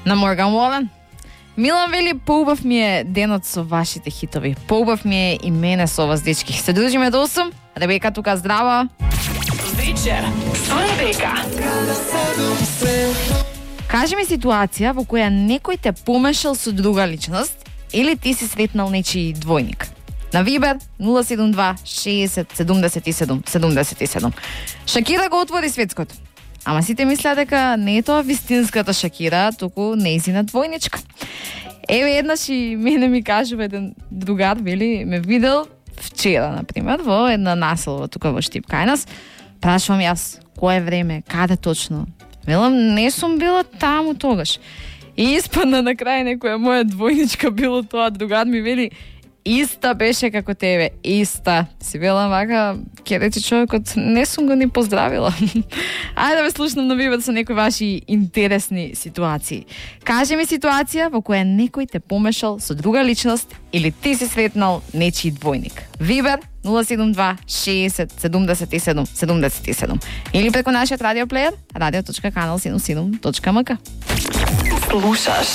На Морган Уолен. Милан вели, поубав ми е денот со вашите хитови. Поубав ми е и мене со вас, дечки. Се дружиме до 8. Ребека тука, здрава. Вечер со Ребека. Кажи ми ситуација во која некој те помешал со друга личност или ти си сретнал нечи двојник. На Вибер 072 60 77 77. Шакира го отвори светското. Ама сите мислеа дека не е тоа вистинската Шакира, туку нејзина двојничка. Еве еднаш и мене ми кажува еден другар, вели, ме видел вчера, например, во една населба тука во Штип кај нас. Прашувам јас, кое време, каде точно? Велам, не сум била таму тогаш. И испадна на крај некоја моја двојничка било тоа, другар ми вели, иста беше како тебе, иста. Си велам вака, ќе рече човекот, не сум го ни поздравила. Ајде да ве слушнам на Вибер со некои ваши интересни ситуации. Кажи ми ситуација во која некој те помешал со друга личност или ти си сретнал нечи двојник. Вибер 072 60 77 77 или преку нашиот радиоплеер radio.kanal77.mk. Слушаш